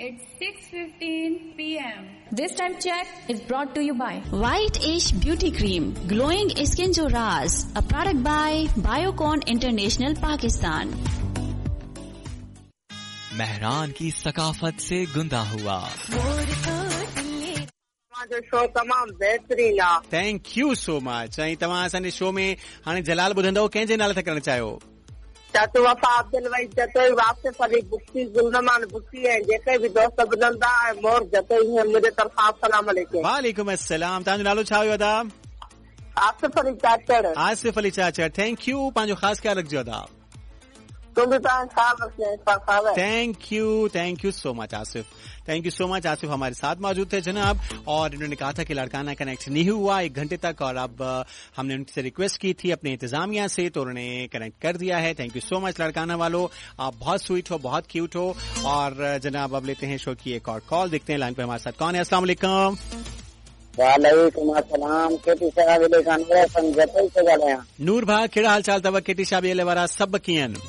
It's 6:15 p.m. This time check is brought to you by White Ish Beauty Cream, glowing skin jo Raz, a product by Biocon International Pakistan. Mehran की सकाफत से गुंदा हुआ। तव्हांजो show तमामु बहितरीन आहे। Thank you so much. ऐं तव्हां असांजे शो में हाणे जलाल ॿुधंदव, कंहिंजे नाले था करणु चाहियो? चाचू वफ़ा अब्दुल वही जतोई, वासिफ अली बुक्सी, गुलरमान बुक्सी ऐं जेके बि दोस्त ॿुधनि था ऐं मोर जतोई मुंहिंजे तरफ़ां अस्सलाम अलैकुम। वालेकुम अस्सलाम। तव्हांजो नालो छा हुयो अदा? आसिफ अली चाचड़। Asif Ali चाचड़, thank you. पंहिंजो ख़ासि ख़्यालु रखिजो अदा। तूं बि पंहिंजो ख़्यालु रखिजांइ। Thank you so much Asif, thank you so much Asif हमारे साथ मौजूद थे जनाब, और इन्होंने कहा था कि लड़काना कनेक्ट नहीं हुआ 1 घंटे तक, और अब हमने उनसे रिक्वेस्ट की थी अपने इंतजामिया से, तो उन्होंने कनेक्ट कर दिया है। Thank you so much Larkana वालों, आप बहुत स्वीट हो, बहुत क्यूट हो। और जनाब अब लेते हैं शो की एक और कॉल, देखते हैं लाइन पर हमारे साथ कौन है। अस्सलाम वालेकुम। वालेकुम अस्सलाम। केटी साहब नूर भाई, कहिड़ा हाल चाल अथव? केटी साहब वारा सभु कीअं आहिनि?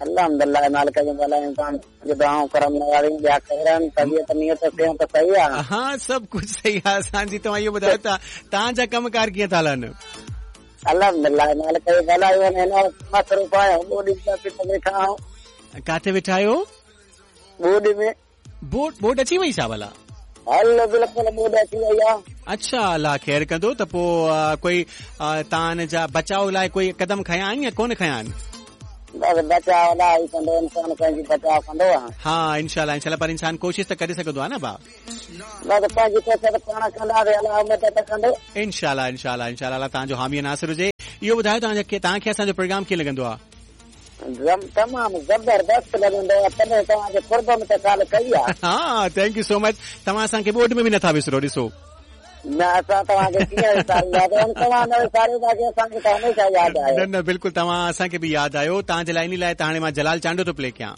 अल्हम्दुलिल्लाह मालिक जो भला इंसान जो दुआऊं करम नवारी ॿिया ख़ैर तबीयत नियत सेहत सही आहे। हा, सभु कुझु सही आहे असांजी। तव्हां इहो ॿुधायो त तव्हांजा कम कार कीअं था हलनि? अल्हम्दुलिल्लाह मालिक जो भला हिन मसरूफ़ आहियूं, ॿोॾी में वेठा आहियूं। किथे वेठा आहियो? ॿोॾ में। बोट अची वई छा भला? हल बिल्कुलु ॿोॾ अची वई आहे। अच्छा, अलाह ख़ैर कंदो। त पोइ कोई तव्हां जा बचाव लाइ कोई कदम खयां आहिनि या कोन खयां आहिनि? बसि बचाव लाइ कंदो इंसान, पंहिंजी बचाव कंदो आहे। हा, इंशाल्लाह इंशाल्लाह, पर इंसान कोशिश त करे सघंदो आहे न भाउ। बसि पंहिंजी कोशिश पाण कंदासीं, अलाह मदद कंदो। इंशाल्लाह इंशाल्लाह इंशाल्लाह, अलाह तव्हांजो हामी नासिर हुजे। इहो ॿुधायो तव्हांखे असांजो प्रोग्राम कीअं लॻंदो आहे? तमामु ज़बरदस्त लॻंदो आहे, तॾहिं तव्हांजे क़ुर्ब में त ॻाल्हि कई आहे। हा, thank you so much. तव्हां असांखे ॿोॾ में बि नथा विसरो, ॾिसो। न, असां तव्हांखे कीअं विसारींदासीं? तव्हां न विसारियो, बाक़ी असांखे त हमेशा यादि आयो। न न, बिल्कुलु तव्हां असांखे बि यादि आयो। तव्हांजे लाइ इन लाइ त हाणे मां जलाल चांडियो थो प्ले कयां।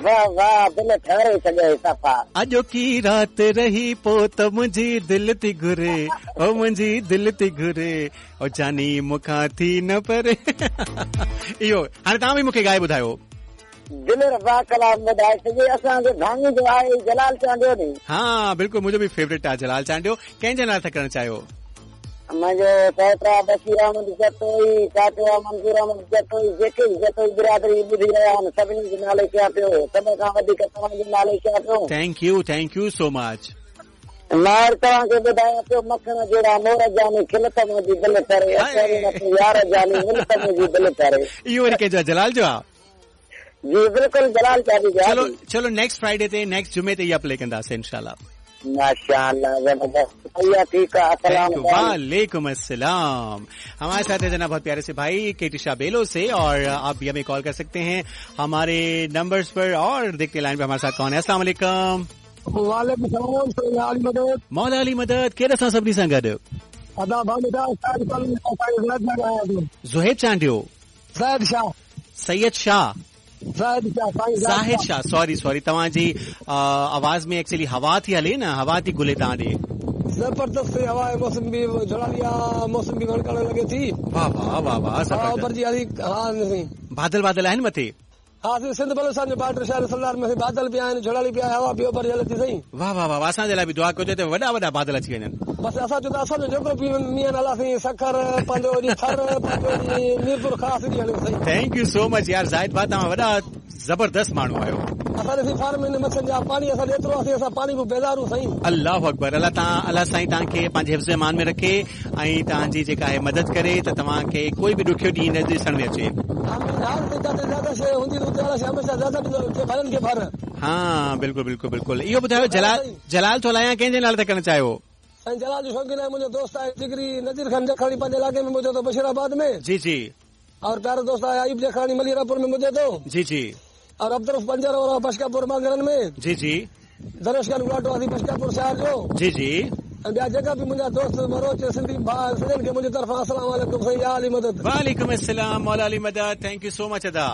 वाह वाह, दिलि ठहरे छॾियो सफ़ा। अॼोकी राति रही पो त मुंहिंजी दिलि थी घुरे, ओ मुंहिंजी दिलि थी घुरे, ओ जानी मूंखां थी न परे। इहो हाणे तव्हां बि मूंखे ॻाए ॿुधायो। दिल रबा कलाम ॿुधाए छॾे, असांजे भाङी जो आहे जलाल चांडियो नी। हा बिल्कुलु, मुंहिंजो बि फेवरेट आहे जलाल चांडियो। कंहिंजे नाले था करणु चाहियो? मुंहिंजो सौटा बशीर अहमद जतोई, चाचो मंज़ूर अहमद जतोई, जेके बि जतोई बिरादरी ॿुधी रहिया आहिनि सभिनी जे नाले कयां पियो, सभ खां वधीक तव्हांजे नाले कयां पियो। Thank you, thank you so much. मां तव्हांखे ॿुधायां पियो, मखण जहिड़ा मोर जानी, खिल त मुंहिंजी दिलि करे, यार जानी, मिल त मुंहिंजी दिलि करे। इहो वरी कंहिंजो आहे? जलाल जो आहे? जी बिल्कुलु, जलाल चांडियो जो। चलो चलो, नेक्स्ट फ्राइडे ते, नेक्स्ट जुमे ते इहा प्ले कंदासीं इंशाल्लाह। माशाअल्लाह, ज़बरदस्त, ठीक है। अस्सलाम वालेकुम अस्सलाम। हमारे साथ है जनाब बहुत प्यारे से भाई केटी शाह बेलो से, और आप भी हमें कॉल कर सकते हैं हमारे नंबर्स पर, और देखते हैं लाइन पे हमारे साथ कौन है। अस्सलाम वालेकुम। वालेकुम सलाम। मौला अली मदद। केरु असां सभिनी सां गॾु? अदा ज़ुहैब चांडियो, ज़ाहिद शाह, सैयद शाह, ज़ाहिद शाह, सॉरी सॉरी, तव्हांजी आवाज़ में एक्चुअली हवा थी हले न, हवा थी घुले तव्हां ॾे। ज़बरदस्त हवा है, मौसम भी झड़ाली आहे, मौसम बि वणकण लॻे थी। वाह वाह वाह वाह, ज़बरदस्त। बादल बादल आहिनि मथे? हा, सिंध बलोचिस्तान जो बॉर्डर शहर सरदार में बादल बि आहिनि, झड़ाली बि आहे, हवा बि ओभर हले थी सही। वाह वाह वाह, असांजे लाइ बि दुआ कजो त वॾा वॾा बादल अची वञनि। बसि असां चयो त असांजो जेको बि मींहुं अला साईं, सखर पंहिंजो थर पंहिंजो मीरपुर ख़ास हलियो साईं। Thank you so much यार ज़ाहिद भाउ, तव्हां वॾा ज़बरदस्त माण्हू आहियो। असां ॾिसी फार्म में मच्छनि जा पाणी असां एतिरो आहे, असां पाणी बि बेज़ारू साईं। अल्लाह अकबर। अलाह तव्हां, अलाह साईं तव्हांखे पंहिंजे हिफ़्ज़ अमान में रखे ऐं तव्हांजी जेका आहे मदद करे त तव्हांखे कोई बि ॾुखियो ॾींहुं न ॾिसण में अचे। हा बिल्कुलु बिल्कुलु बिल्कुलु। इहो ॿुधायो जलाल, जलाल थो हलायां, कंहिंजे नाले था करणु चाहियो? साईं जलाल जो शौक़ीन आहे मुंहिंजो दोस्त आहे जिगरी नज़ीर खान जखाणी, पंहिंजे इलाइक़े में मुंहिंजो बशीराबाद में। जी जी। और प्यारो दोस्त आहे अयूब जखाणी मलीरापुर में मुंहिंजो तो। जी जी। और अब्दुल पंजर और बशकापुर मांगरन में। जी जी। दरेश खान गुलाटो आहे बशकापुर शहर जो। जी जी। ऐं ॿिया जेका बि मुंहिंजा दोस्त बरोच सिंधी भाउ सभिनी खे मुंहिंजी तरफ़ां अस्सलाम वालेकुम साईं, या अली मदद। वालेकुम अस्सलाम, मौला अली मदद। Thank you so much अदा।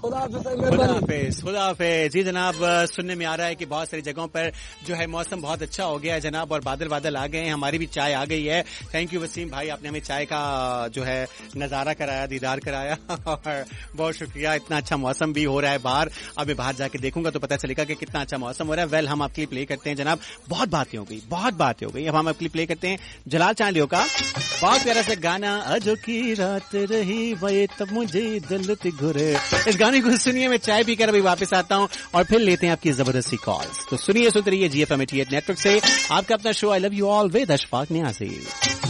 ख़ुदा हाफ़िज़ साईं, खुदा महिरबानी। हाफिज, खुदा हाफिज। जी जनाब, सुनने में आ रहा है कि बहुत सारी जगहों पर जो है मौसम बहुत अच्छा हो गया है जनाब, और बादल बादल आ गए हैं, हमारी भी चाय आ गई है। Thank you Wasim भाई, आपने हमें चाय का जो है नज़ारा कराया, दीदार कराया और बहुत शुक्रिया। इतना अच्छा मौसम भी हो रहा है बाहर, अब मैं बाहर जाके देखूंगा तो पता चलेगा कि कितना अच्छा मौसम हो रहा है। वेल, हम आपके लिए प्ले करते हैं जनाब, बहुत बातें हो गई, बहुत बातें हो गई। अब हम आपके लिए प्ले करते हैं जलाल चांडियो का बहुत प्यारा सा गाना, अजो की रात रही वे तब मुझे दलत घुरे। इस गाने को सुनिए, मैं चाय पीकर अभी वापस आता हूँ और फिर लेते हैं आपकी जबरदस्ती कॉल्स। तो सुनिए, सुनते रहिए GFM 88 network से आपका अपना show I love you all with Ashfaq Niazi.